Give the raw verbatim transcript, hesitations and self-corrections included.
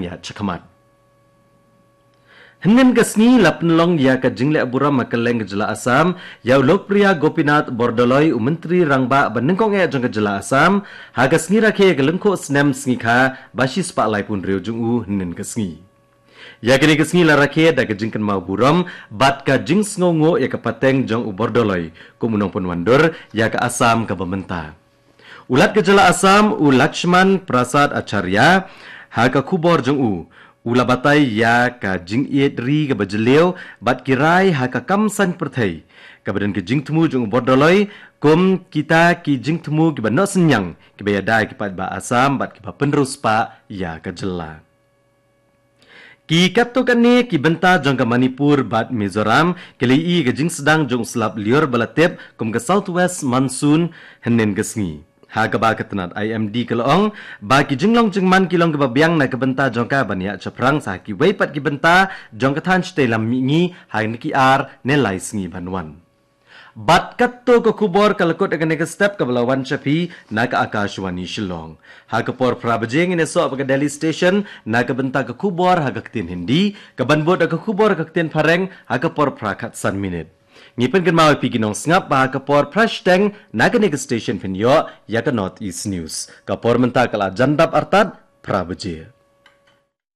ïa chakhmat. Hynnin ka sngi la pynlong ïa ka jingleh burom ha kylleng ka jylla Assam ïa u Lokpriya Gopinath Bordoloi, u Myntri Rangbah ba nyngkong eh jong ka jylla Assam, ha ka sngi rakhe ka lyngkhuh snem sngi kha ba shispah laiphew hynriew jong u hynnin ka sngi. Ïa kane ka sngi la rakhe da ka jingkynmaw burom bad ka jingsngewnguh ïa ka pateng jong u Bordoloi kum u nongpynwandur ïa ka Assam kaba mynta. U Lat ka jylla Assam, u Lakshman Prasad Acharya, ha ka khubor jong u, u la batai ïa ka jingïeit ri kaba jylliew bad ki rai ha ka kam saiñ pyrthei, kaba don ka jingthmu jong u Bordoloi kum kita ki jingthmu kiba noh synñiang, kiba ïada ïa ki paidbah Assam bad kiba pynriewspah ïa ka jylla. Ki katto katne ki bynta jong ka Manipur bad Mizoram ki la ïohi ïa ka jingsdang jong u slap lyiur ba la tip kum ka South West Monsoon hynnin ka sngi, ha kaba ka tnat I M D ka la ong ba ki jinglong jingman ki long kaba biang na ka bynta jong ka ban ïaid shaphrang sa ha kiwei pat ki bynta jong ka thaiñ shatei lam mihngi ha kine ki ar ne lai sngi ban wan. Bad katto ka khubor ka la kut ha kane ka step kaba la wan sha phi na ka Akashvani Shillong. Ha ka por phra baje ngin ïasoh bad ka Delhi Station na ka bynta ka khubor ha ka ktien Hindi, kaban bud da ka khubor ha ka ktien Phareng ha ka por phra khatsan minit. Ngi pynkynmaw ïa phi ki nongsngap ba ha ka por phra shiteng na kane ka station phin ïoh ïa ka North East News. Ka por mynta ka la jan dap artat phra baje.